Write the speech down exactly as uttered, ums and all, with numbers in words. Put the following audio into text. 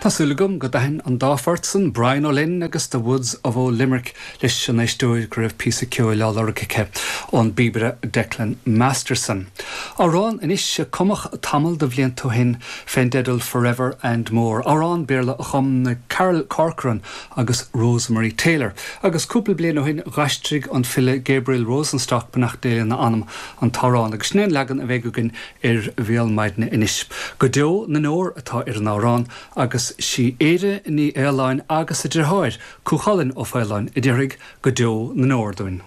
Tá súil agam go dtaithin an dá phort san Brian O'Lynn agus The Woods of Old Limerick leis an éisteoir go raibh píosa ceoil á lorg aici ón bpíobaire Declan Masterson. Amhrán anois a cumadh tamall de bhlianta ó shin fén dteideal Forever and More. Amhrán Béarla a chum Carol Corcoran agus Rosemary Taylor. Agus cúpla bliain ó shin d'aistrigh an file Gabriel Rosenstock beannacht Dé lena anam an t-amhrán agus sin é an leagan a bheidh againn ar Bhéal Maidine anois. Go deo na ndeor atá ar an amhrán agus sí Éire Ní Fhaoláin agus a deartháir Cú Chulainn Ó Faoláin a déarfaidh go deo na ndeor dúinn.